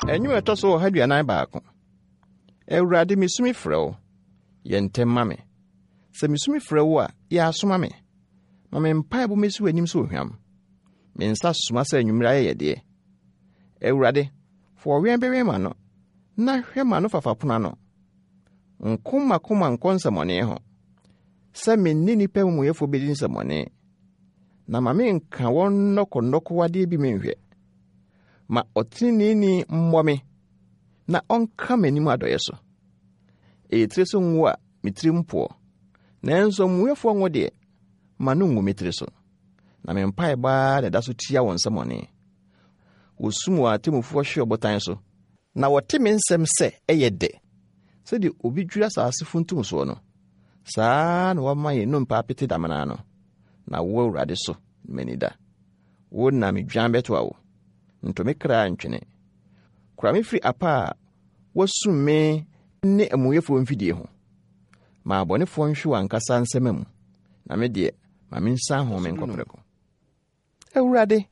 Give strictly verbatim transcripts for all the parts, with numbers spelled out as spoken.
Nnwom a ɛtɔ so ɔha aduanan baako. Awurade, misu mefrɛ wo, yɛ ntɛm ma me. Sɛ misu mefrɛ wo a, yɛ aso ma me. Ma me mpaebɔ mmesi w'anim sɛ ohwam. Me nsa soma sɛ anwummere ayɛyɛdeɛ. Awurade, fa ɔwɛn bɛwɛn m'ano, na hwɛ m'ano fafa pono ano. Nko m'akoma nkɔ nsɛmmɔne ho, sɛ me ne nnipa amumuyɛfoɔ bɛdi nsɛmmɔne, na ma menka wɔn nnɔkɔnnɔkɔwadeɛ bi menhwɛ. Ma ɔteneneeni mmɔ me, na ɔnka m'anim adɔeɛ so. Ɛyɛ tiri so ngo a me tiri mpoɔ, nanso amumuyɛfoɔ ngo deɛ, ma no ngu me tiri so. Na me mpaebɔ ara na ɛda so tia wɔn nsɛmmɔne. Wɔsum wɔn atemmufoɔ hwe ɔbotan so, na wɔte me nsɛm sɛ ɛyɛ dɛ. Sɛdeɛ obi dwiri asase funtum soɔ no, saa ara na wɔama yɛn nnompe apete damena ano. Na wo Awurade so na m'ani da. Wo na medwan bɛtoa wo. Nto me kra ntwene. Kora me firi apa a wɔasum me ne amumuyɛfoɔ mfidie ho. Ma abɔnefoɔ nhwe wɔn ankasa nsɛmma mu, na me deɛ, ma mensan ho menkɔ prɛko. Awurade,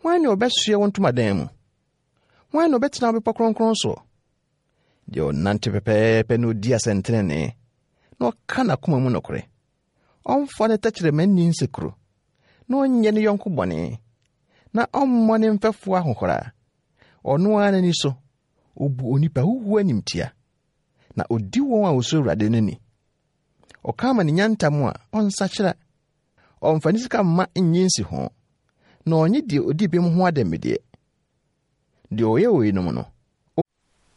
hwan na ɔbɛsoɛ wo ntomadan mu? Hwan na ɔbɛtena wo bepɔ kronkron soɔ? Deɛ ɔnante pɛpɛɛpɛ na ɔdi asɛntenenee, na ɔka n'akoma mu nokorɛ. Ɔmfa ne tɛkyerɛma nni nsekuro, na ɔnyɛ ne yɔnko bɔne, na ɔmmɔ ne mfɛfoɔ ahohora. Ɔno ara n'ani so, ɔbu onipa huhuo animtia, na ɔdi wɔn a wɔsuro Awurade no ni. Ɔka ama ne nya ntam a, ɔnsakyera. Ɔmfa ne sika mma nnye nsiho, na ɔnnye deɛ ɔdi bem ho adanmudeɛ. Deɛ ɔyɛ weinom no,